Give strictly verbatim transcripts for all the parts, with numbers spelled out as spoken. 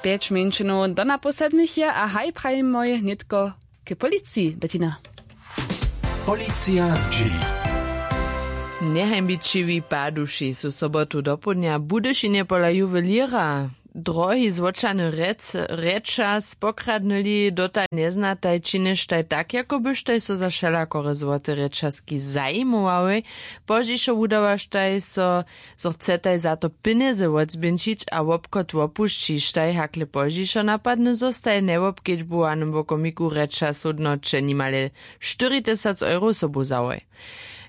Pjeć mjeńšinow do naposlednich je a haj prajimoj nětko k policiji, Bettina. Policija zdźěli. Njehajnbićiwi paduši su sobotu dopołdnja w Budyšinje pola juwelěra drohi złóčany rječas pokradnyli. Dotal njeznataj, činještaj tak, jako byštaj so za wšelakore złote rječaski zajimowałej. Pozdźišo wudawaštaj so, zo chcetaj za to pjenjezy wotzběhnćić a wobchod wopušćištaj. Hakle pozdźišo napadny, zo staj w njewobkedźbowanym wokomiku rječas hódnoće nimale štyri tysac euro sobu wzałoj.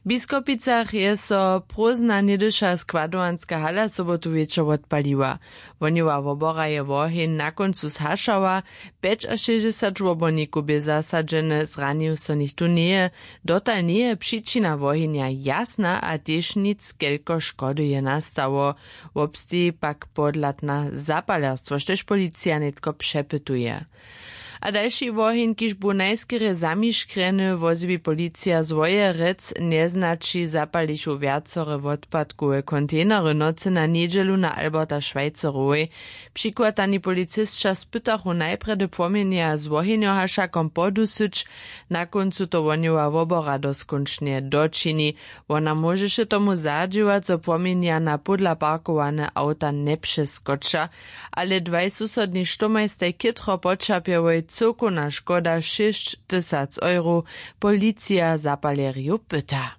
W Biskopicach je so prózdna něhdyša składowanska hala sobotu wječor wotpaliła. Wohnjowa wobora je woheń na kóncu zhašała. Pjećašěsćdźesać wobornikow bě zasadźene, zranił so nichtó njeje. Dotal njeje přičina wohenja jasna a tež nic, kelko škody je nastało. Wobsteji pak podhladna zapalerstwo, štož policija nětko přepytuje. A dalši woheń, kiž bu najskerje zamiškrjeny, wozjewi policija z Wojerec. Njeznaći zapalichu wjacore wotpadkowe kontejnery w nocy na njedźelu na Alberta Schweizerowej. Přichwatani policisća spytachu najprjedy płomjenja z wohenjohašakom podusyć. Na kóncu to wohnjowa wobora doskónčnje dočini. Wona móžeše tomu zadźěłać, zo płomjenja na pódla parkowane awta njepřeskoča. Ale dwaj susodni štomaj staj chětro poćerpjałoj. Cyłkowna škoda šěsć tysac euro. Policija zapalerjow pyta.